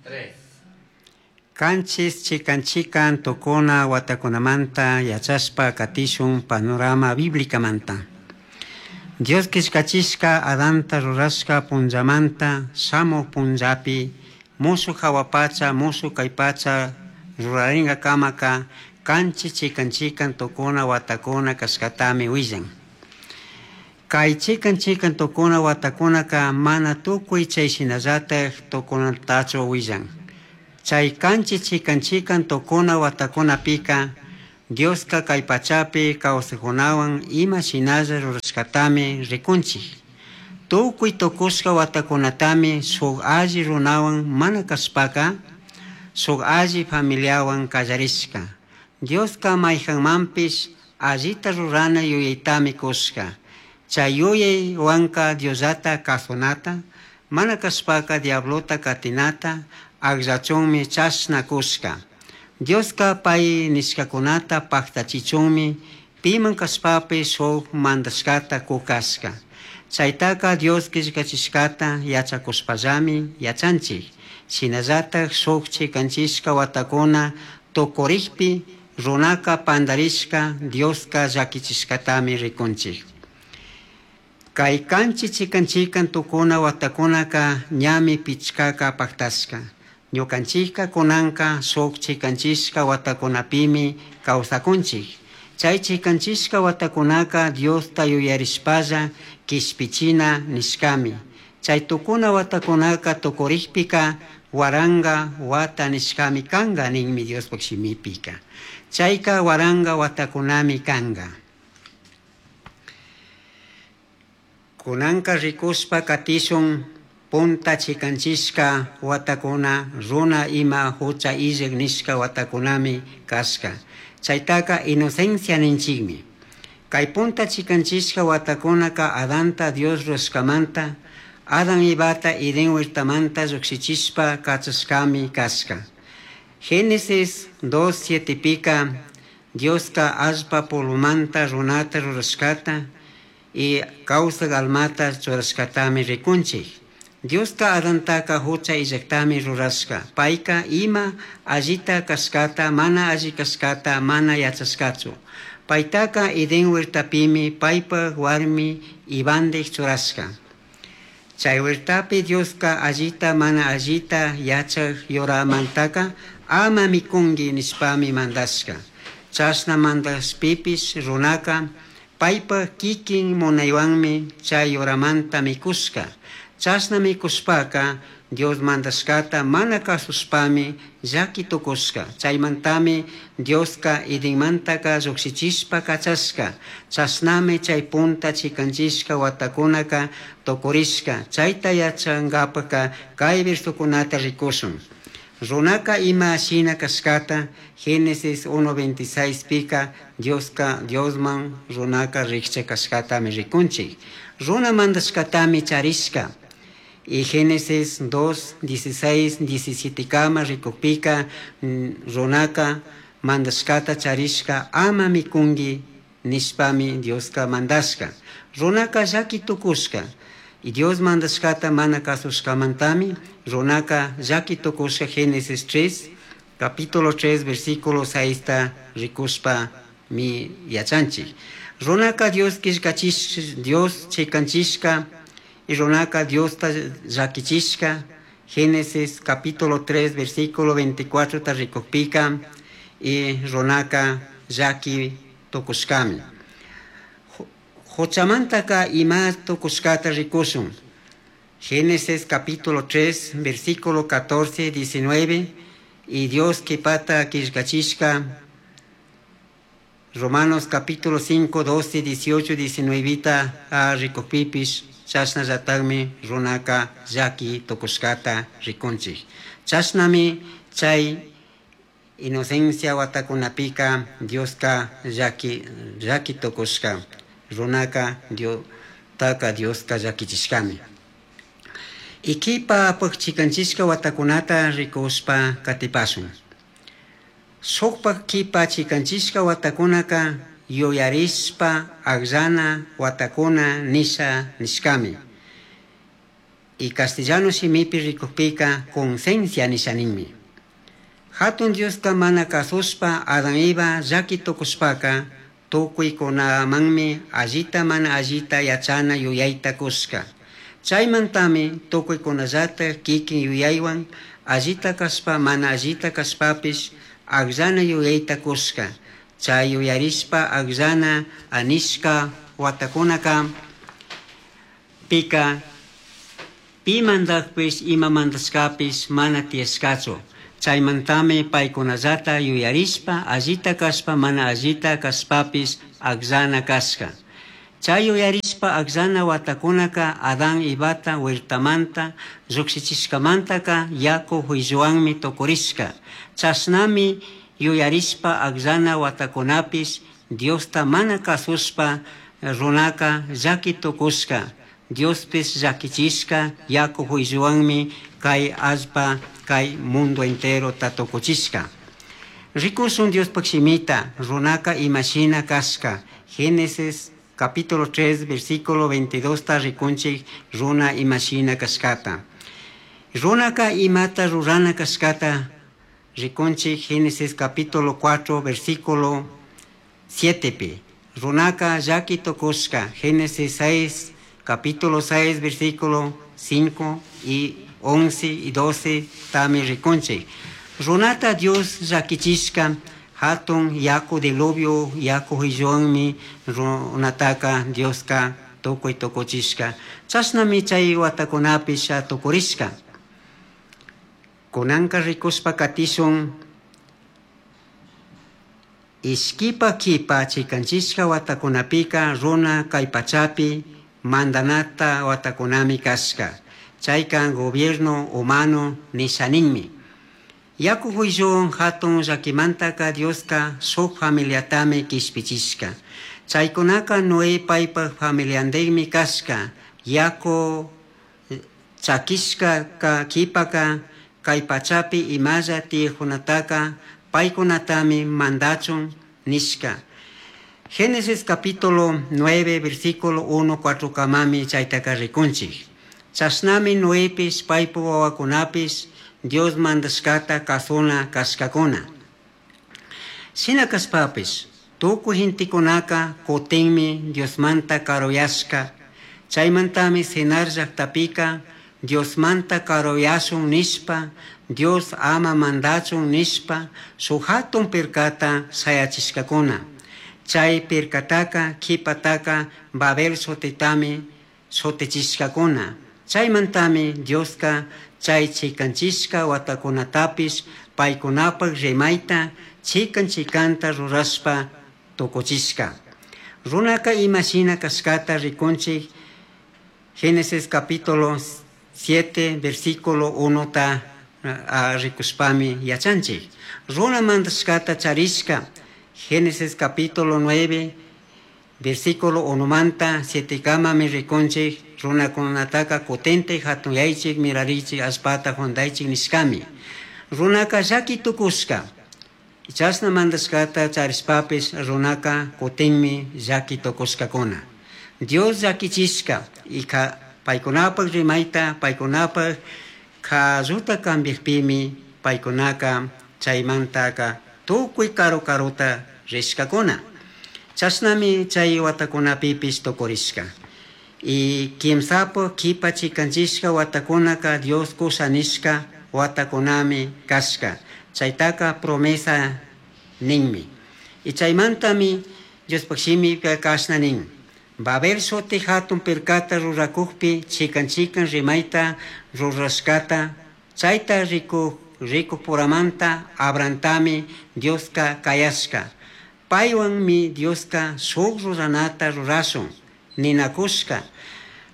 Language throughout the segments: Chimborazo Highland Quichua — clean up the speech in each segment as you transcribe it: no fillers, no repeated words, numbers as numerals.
3. Kanchis chikan chikan tukuna watakunamanta yachashpa katishun panorama biblicamanta. Dios killkachishka Adanta rurashka punllamanta shamuj punllapi mushuj jahua pacha mushuj kay pacha rurarinkakamaka kanchis chikan chikan tukuna watakuna kashkatami willan. Kay chikan chikan tukuna watakunaka mana tukuy chay shinallatak tukunatachu willan. Chay kanchis chikan chikan tukuna watakunapika Dioska kay pachapi kawsajkunawan ima shinalla rurashkatami rikunchik. Tukuy tukushka watakunatami shuk alli runawan mana kashpaka shuk alli familiawan kallarishka. Dioska mayjanmanpish allita rurana yuyaytami kushka. Chay yuyaywanka Diosllata kasunata, mana kashpaka diablota katinata akllachunmi chashna kushka. Dioska pay nishkakunata paktachichunmi piman kashpapish shuk mandashkata kukashka. Chaytaka Dios killkachishkata yachakushpallami yachanchik. Shinallatak shuk chikanchishka watakuna tukurikpi runaka pandarishka Dioska llakichishkatami rikunchik. Kay kanchis chikan chikan tukuna watakunaka ñami pichkaka paktashka. Ñukanchikka kunanka shuk chikanchishka watakunapimi kawsakunchik. Chay chikanchishka watakunaka Diosta yuyarishpalla kishpichina nishkami. Chay tukuna watakunaka tukurikpika waranka wata nishkami kanka ninmi Diospak shimipika. Chayka waranka watakunami kanka. Kunanka rikushpa katishun punta chikanchishka watakuna runa ima hucha illak nishka watakunami kashka. Chaytaka inocencia ninchikmi. Kay punta chikanchishka watakunaka Adanta Dios rurashkamanta, Adán Evata Edén huertamanta llukshichishpa kachashkami kashka. Génesis 2.7 pika Dioska allpa polvomanta runata rurashkata y kawsak almata churashkatami rikunchik. Dioska Adantaka hucha illaktami rurashka. Payka ima allita kashkata, mana alli kashkata, mana yachashkachu. Paytaka Edén huertapimi paypak warmi Evandik churashka. Chay huertapi Dioska allita mana allita yachak yuramantaka ama mikunki nishpami mandashka. Chashna mandashpipish runaka paypak kikin munaywanmi chay yuramanta mikushka. Chashna mikushpaka Dios mandashkata mana kasushpami llaki tukushka. Chaymantami Dioska Edenmantaka llukshichishpa kachashka. Chashnami chay punta chikanchishka watakunaka tukurishka. Chayta yachankapaka kay versokunata rikushun. Runaka ima shina kashkata Génesis 1.26 pika Dioska Diosman runaka rikcha kashkatami rikunchik. Runa mandashkatami charishka. Y Génesis 2, 16, 17 kama rikukpika runaka mandashkata charishka ama mikunki nishpami Dioska mandashka. Runaka llaki tukushka. Y Dios mandashkata mana kasushkamantami runaka llaki tukushka Génesis 3, capítulo 3, versículo 6 ta rikushpa mi yachanchik. Runaka Dios killkachish, Dios chikanchishka y runaka Diosta llakichishka. Génesis capítulo 3, versículo 24 ta rikukpika y runaka llaki tukushkami. Huchamantaka ima tukushkata rikushun. Génesis capítulo 3, versículo 14, 19 y Dios kipata killkachishka. Romanos capítulo 5, 12, 18, 19 ta rikukpipish chashnallatakmi runaka llaki tukushkata rikunchik. Chashnami chay inocencia watakunapika Dioska llaki, llaki tukushka. Runaka Diostaka Dioska llakichishkami. Ikipa chikanchishka watakunata rikushpa katipashun. Shukpak kipa chikanchishka watakunaka yuyarishpa akllana watakuna nisha nishkami. Y castellano shimipi rikukpika conciencia nisha ninmi. Hatun Diosta mana kasushpa Adán Eva llaki tukushpaka tukuykunamanmi allita mana allita yachana yuyayta kushka. Chaymantami tukuykunallatak kikin yuyaywan allita kashpa mana allita kashpapish akllana yuyayta kushka. Chay yuyarishpa akllana anishka watakunaka pika pi mandakpish ima mandashkapish mana tiyashkachu. Chaymantami paykunallata yuyarishpa allita kashpa mana allita kashpapish akllana kashka. Chay yuyarishpa akllana watakunaka Adán Evata huertamanta llukshichishkamantaka yaku juilluwanmi tukurishka. Chashnami yuyarishpa akllana watakunapish Diosta mana kasushpa runaka llaki tukushka. Diospish llakichishka yaku juilluwanmi kay allpa kay mundo enterota tukuchishka. Rikushun Diospaj shimita runaka imashina kashka. Génesis capítulo 3 versículo 22 ta rikunchik runa imashina kashkata. Runaka imata rurana kashkata rikunchik Génesis capítulo 4 versículo 7 pi. Runaka llaki tukushka. Génesis 6 capítulo 6 versículo 5 y 11 y 12 tami rikunchik. Runata Dios llakichishka hatun yaku diluvio yaku huilluwanmi runataka Dioska tukuy tukuchishka. Chashnami chay watakunapish tukurishka. Kunanka rikushpa katishun ishkipa kipa chikanchishka watakunapika runa kay pachapi mandanata watakunami kashka. Chayka gobierno humano nisha ninmi. Yaku huilluwan hatun llakimantaka Dioska shuk familiatami kishpichishka. Chaykunaka Noé paypak familiandikmi kashka. Yaku chakishka kipaka kay pachapi imalla tiyajkunataka paykunatami mandachun nishka. Génesis capítulo 9 versículo 1 4 kamami chaytaka rikunchik. Chashnami Noepish paypak wawakunapish Dios mandashkata kasuna kashkakuna. Shina kashpapish tukuy gentekunaka kutinmi Diosmanta karuyashka. Chaymantami Sinar llaktapika Diosmanta karuyashun nishpa Dios ama mandachun nishpa shuk hatun pirkata shayachishkakuna. Chay pirkataka kipataka Babel shutitami shutichishkakuna. Chaymantami Dioska chay chikanchishka watakunatapish paykunapak rimayta chikan chikanta rurashpa tukuchishka. Runaka imashina kashkata rikunchik Génesis capítulo 7 versículo 1 ta rikushpami yachanchik. Runa mandashkata charishka Génesis capítulo 9 versículo 1 manta 7 kamami rikunchik runakunataka kutintik hatunyaychik mirarichik allpata juntaychik nishkami. Runaka llaki tukushka. Chashna mandashkata charishpapish runaka kutinmi llaki tukushkakuna. Dios llakichishka ika paykunapak rimayta paykunapak kalluta cambiakpimi paykunaka chaymantaka tukuy karu karuta rishkakuna. Chashnami chay watakunapipish tukurishka. Y kimsapak kipa chikanchishka watakunaka Dios kusha nishka watakunami kashka. Chaytaka promesa ninmi. Y chaymantami Diospaj shimika kashna nin. Babel shuti hatun pirkata rurakukpi chikan chikan rimayta rurashkata chayta rikukpuramanta Abrahamtami Dioska kayashka. Paywanmi Dioska shuk ruranata rurashun ninakushka.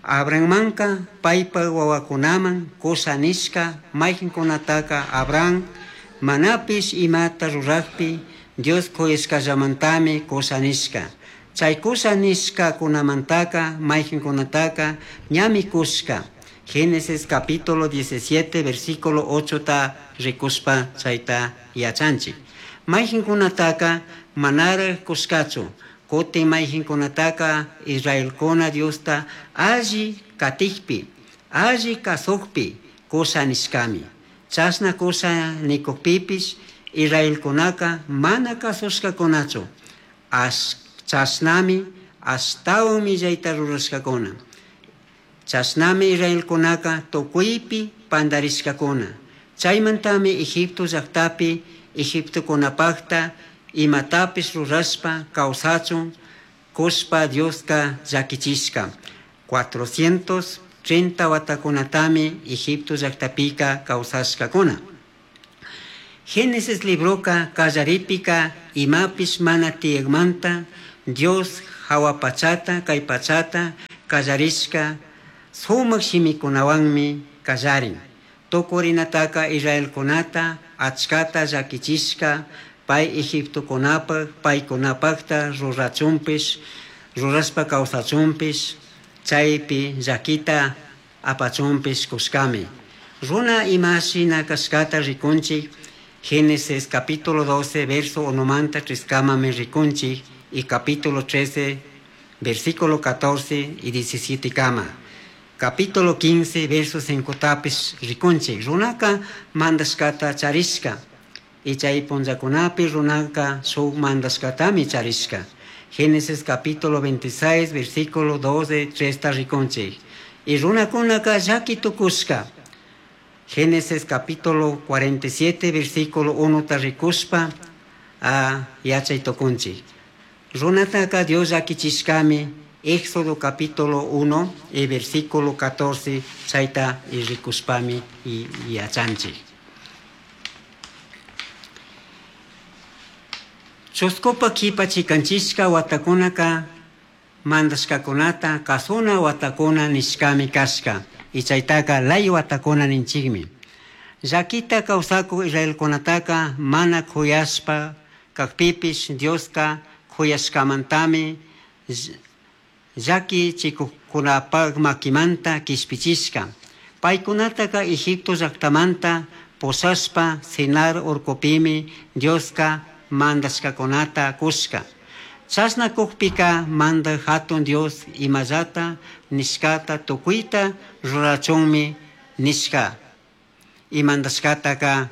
Abrahammanka paypak wawakunaman kusha nishka maykankunataka Abraham manapish imata rurakpi Dios kuyashkallamantami kusha nishka. Chay kusha nishkakunamantaka maykankunataka ñami kushka. Génesis capítulo 17 versículo 8 ta rikushpa chayta yachanchik. Maykankunataka manara kushkachu. Kutin maykankunataka Israelkuna Diosta alli katikpi. Alli kazujpi cusha nishcami. Chashna cusha nicujpipish Israelcunaca mana cazushcacunachu. Chashnami ashtahuan millaita rurashcacuna. Chashnami Israelcunaca tucuipi pandarishcacuna. Chaimantami Egipto llajtapi Egiptocunapajta imatapish rurashpa causachun cushpa Diosca llaquichishca. 430 huatacunatami Egipto llajtapica causashcacuna. Génesis libroca callaripika imapish mana tiyagmanta Dios jahua pachata kay pachata kallarishka sumak shimikunawanmi kallarin. Tukurinataka Israelkunata achkata llakichishka pay Egiptokunapaj paykunapajta rurachunpish rurashpa kawsachunpish chaypi llakita apachunpish kushkami. Runa ima shina kashkata rikunchik Génesis capítulo 12 verso 1 manta 3 kamami rikunchik y capítulo 13 versículo 14 y 17 kama. Capítulo 15 verso 5 tapish rikunchik. Runaka mandashkata charishka. Y chay punllakunapi runaka shuk mandashkatami charishka. Génesis capítulo 26 versículo 12 3 rikunchik. Y runakunaka llaki tukushka. Génesis capítulo 47 versículo 1 ta rikushpa a yachay tukunchik. Runataka Dios llakichishkami Éxodo capítulo 1 y versículo 14 chayta y rikushpami y yachanchik. Chuskupa kipa chikanchishka watakunaka mandashkakunata kasuna watakuna nishkami kashka. Y chaytaka lay watakuna ninchikmi. Llakita kawsakuk Israelkunataka mana kuyashpa kakpipish Dioska kuyashkamantami llaki chikuqkunapaq makimanta kishpichishka. Paykunataka Egipto llaktamanta pushashpa Sinar urkupimi Dioska mandashkakunata kushka. Chashna kukpika mandak hatun Dios imallata nishkata tukuyta rurachunmi nishka. Y mandashkataka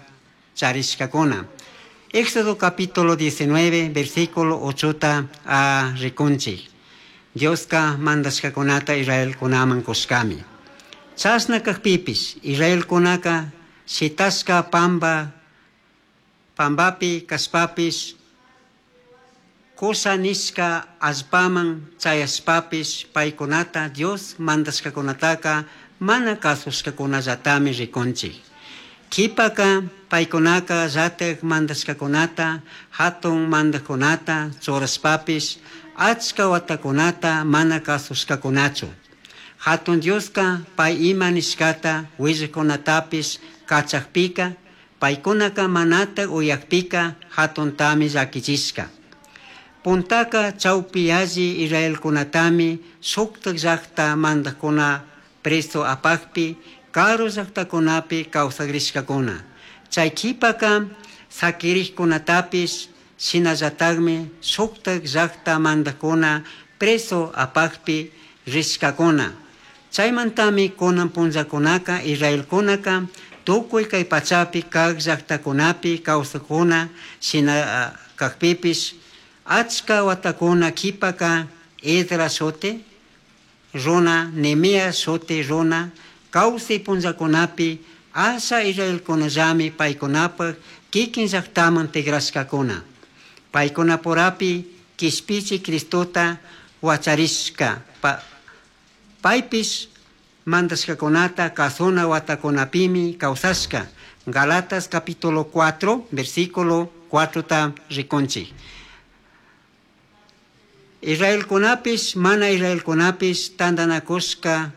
charishkakuna. Éxodo capítulo 19 versículo 8 a rikunchik. Dioska mandashkakunata Israelkunaman kushkami. Chashna kakpipish Israelkunaka shitashka pamba pambapi kashpapish kusha nishka allpaman chayashpapish paykunata Dios mandashkakunataka mana kasushkakunallatami rikunchik. Kipaka paykunaka llatak mandashkakunata hatun mandakkunata churashpapish achka watakunata mana kasushkakunachu. Hatun Dioska pay ima nishkata willajkunatapish kachakpika paykunaka manata uyakpika hatuntami llakichishka. Puntaka chawpi alli Israelkunatami shuktak llakta mandakuna preso apakpi karu llaktakunapi kawsakrishkakuna. Chay kipaka sakirikkunatapish shinallatakmi shuktak llakta mandakuna preso apakpi rishkakuna. Chaymantami kunan punllakunaka Israelkunaka tukuy kay pachapi kak llaktakunapi kawsakuna shina kakpipish achka watakuna kipaka Esdras shuti runa, Nehemías shuti runa kawsay punllakunapi asha Israelkunallami paykunapaj kikin llaktaman tigrashkakuna. Paykunapurapi kishpichi Cristota wacharishka. Paypish mandashkakunata kasuna watakunapimi kawsashka. Galatas capítulo 4 versículo 4 ta rikunchik. Israelkunapish mana Israelkunapish tantanakushka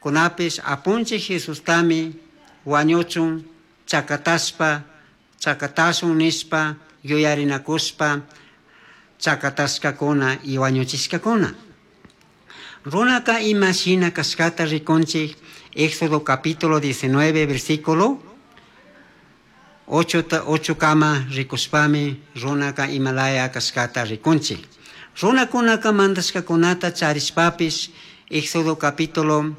kunapish apunchik Jesustami wañuchun chakatashpa chakatashun nishpa yuyarinakushpa chakatashkakuna y wañuchishkakuna. Runaka ima shina kashkata rikunchik Éxodo capítulo 19 versículo 8 kama rikushpami runaka imalaya kashkata rikunchik. Runakunaka mandashkakunata charishpapish Éxodo capítulo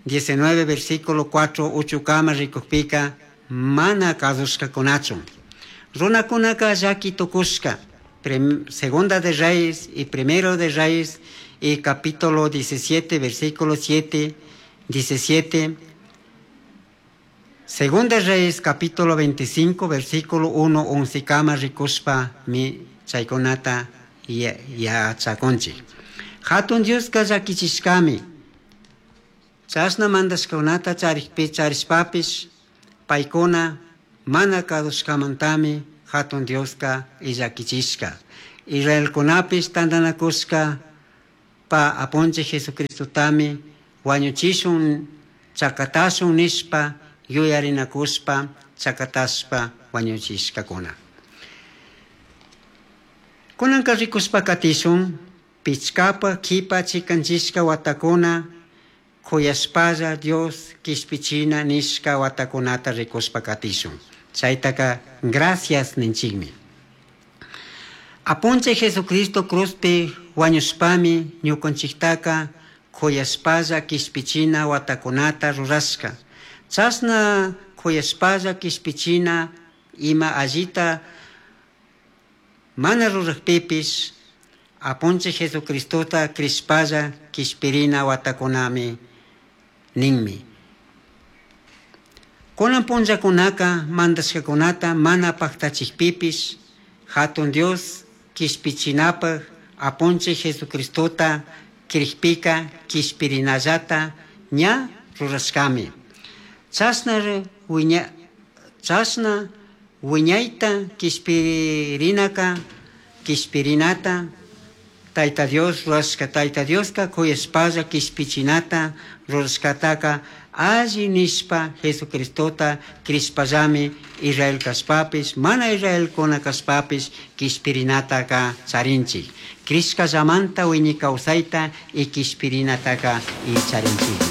19 versículo 4 uchukama rikukpika mana kazushkakunachu. Runakunaka llaki tukushka. Segunda de Reyes y Primero de Reyes y capítulo 17 versículo 7, 17. Segunda de Reyes capítulo 25 versículo 1 11 kama rikushpa mi chaykunata yachakunchik. Hatun Dioska llakichishkami. Chashna mandashkakunata charikpi charishpapish paykuna mana kadushkamantami hatun Dioska illakichishka. Israelkunapish tantanakushka pa apunchik Jesucristotami wañuchishun chakatashun nishpa yuyarinakushpa chakatashpa wañuchishkakuna. Kunanka rikushpa katishun pichkapa kipa chikanchishka watakuna kuyashpalla Dios kishpichina nishka watakunata rikushpa katishun. Chaytaka gracias ninchikmi. Apunchik Jesucristo cruzpi wañushpami ñukanchiktaka kuyashpalla kishpichina watakunata rurashka. Chashna kuyashpalla kishpichina ima allita mana rurakpipish Apunchik Jesucristota krishpalla kishpirina watakunami ninmi. Kunan punllakunaka mandashkakunata mana paktachikpipish Hatun Dios kishpichinapaj Apunchik Jesucristota krikpika kishpirinallata ña rurashkami. Chashna wiña chashna wiñayta kishpirinaka kishpirinata Tayta Dios rurashka. Tayta Dioska kuyashpalla kishpichinata rurashkataka alli nishpa Jesucristota krishpallami Israel kashpapish mana Israelkuna kashpapish kishpirinataka charinchik. Krishkallamanta wiñay kawsayta y kishpirinataka y charinchikmi.